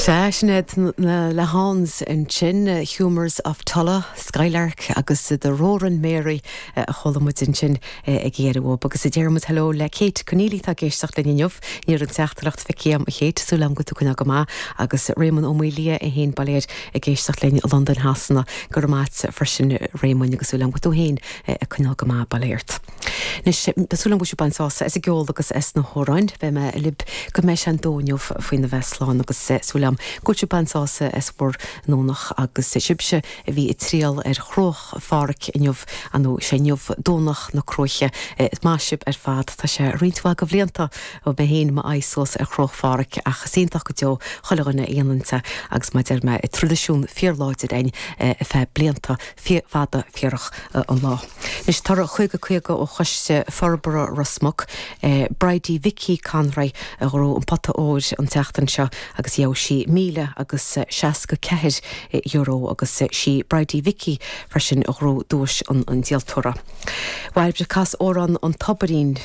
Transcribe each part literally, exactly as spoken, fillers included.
Sea, sin iad na Lehans ansin, Humours of Tulla, Skylark agus The Roarin' Mary a chuala muid ansin ag iarraidh uaib. Agus a deir muid hello le Kate Conneely tá ag éisteacht linn inniu, ní raibh an teachtaireacht feicthe agam a Kate, súil agam go bhfuil tú coinneáil go maith agus Réamonn Ó Maoilia é féin ba léir ag éisteacht linn i Londain Shasana go raibh maith agat freisin Réamonn agus súil agam go bhfuil tú féin ag coinneáil go maith ba léir. Anois tá súil agam go bhfuil sibh ag baint sásamh as an gceol agus as na hamhráin, beidh mé libh go mbeidh sé an dó inniu faoina bheith slán agus súil agam go bhfuil sibh ag baint sásamh as bhur nDomhnach agus sibhse a bhí ag triall ar Chruach Phádraig inniu nó sé inniu Domhnach na Cruaiche maith sibh ar fad tá sé roinnt mhaith de bhlianta ó mé féin m'aghaidh suas ar Chruach Phádraig ach is iontach go deo chuile dhuine a dhéanann é agus mar a deir mé traidisiún fíorláidir againn ar feadh blianta fada fíorach an lá. Anois toradh caoga caoga ó Choiste Forbartha Ros Muc, Bridie Vicky Conroy a ghnóthaigh an pota óir an tseachtain seo agus gheobhaidh sí míle agus seasca ceathair euro agus sí Bridie Vicky freisin a ghnóthaigh duais an an díoltóra. Bhairbre cas amhrán an Tobairín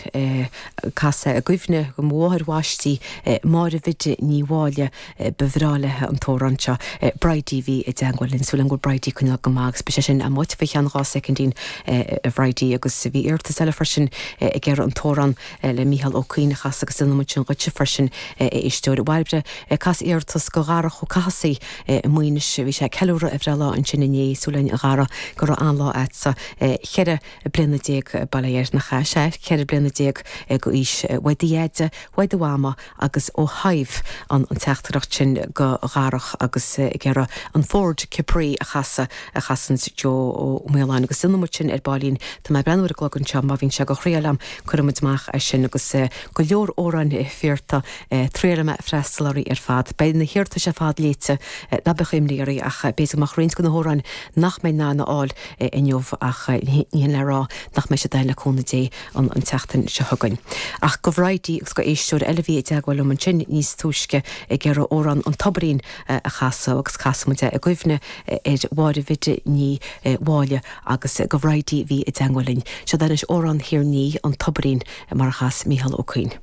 cas é i gcuimhne go mháthair bhaistí Máire Bhiddy Ní Mháille ba bhreá léi an t-amhrán seo Bridie bhí i dteagmháil linn súil agam go bhfuil Bridie ag coinneáil go maith agus beidh sé sin amuigh faoi cheann dhá soicindín a Bhridie agus bhí iarratas eile freisin ag iarraidh an t-amhrán le Mícheál Ó Cuinn a chasadh agus déanfaidh muid sin dhuitse freisin éisteoir Bhairbre cas iarratas go Dharach Ó Cathasaigh i Maínis bhí sé ceiliúradh a bhreithlá ansin inné súil againn a Dhara go raibh an-lá agatsa ceithre bliana déag bail ó Dhia air nach ea sé ceithre bliana déag d'aois uaidh do dheaide uaidh do mhama agus ó Shadhbh an an teachtaireacht sin go Dharach agus ag iarraidh an Ford Capri a chasadh a chasann Joe Ó Maoláin agus déanfaidh muid sin ar baillín Tá mé ag breathnú ar an gclog anseo má bhíonn sé go thriail am cuirfidh muid amach é sin agus go leor amhráin iarrtha triailfidh mé freastal orthu ar fad. Beidh na hiarratais ar fad léite ná bíodh imní oraibh ach b'fhéidir go mbeadh roinnt de na hamhráin nach mbeidh in ann a fháil inniu ach ní hin le rá nach mbeidh siad ann le cúnamh Dé an an tseachtain seo chugainn. Ach go Bhridie agus go éisteoir eile bhí i dteagmháil liom ansin níos túisce ag iarraidh amhrán an Tobairín a chasadh agus casfaidh muid é i gcuimhne ar Mháire Bhiddy Ní Mháille agus go Bhridie bhí i dteagmháil linn. Seo anois amhrán Thír an Fhia an Tobairín mar a chas Mícheál Ó Cuinn.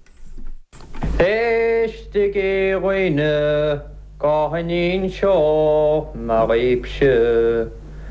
Éistigí a dhaoine go n-inseoidh mé dhaoibhse.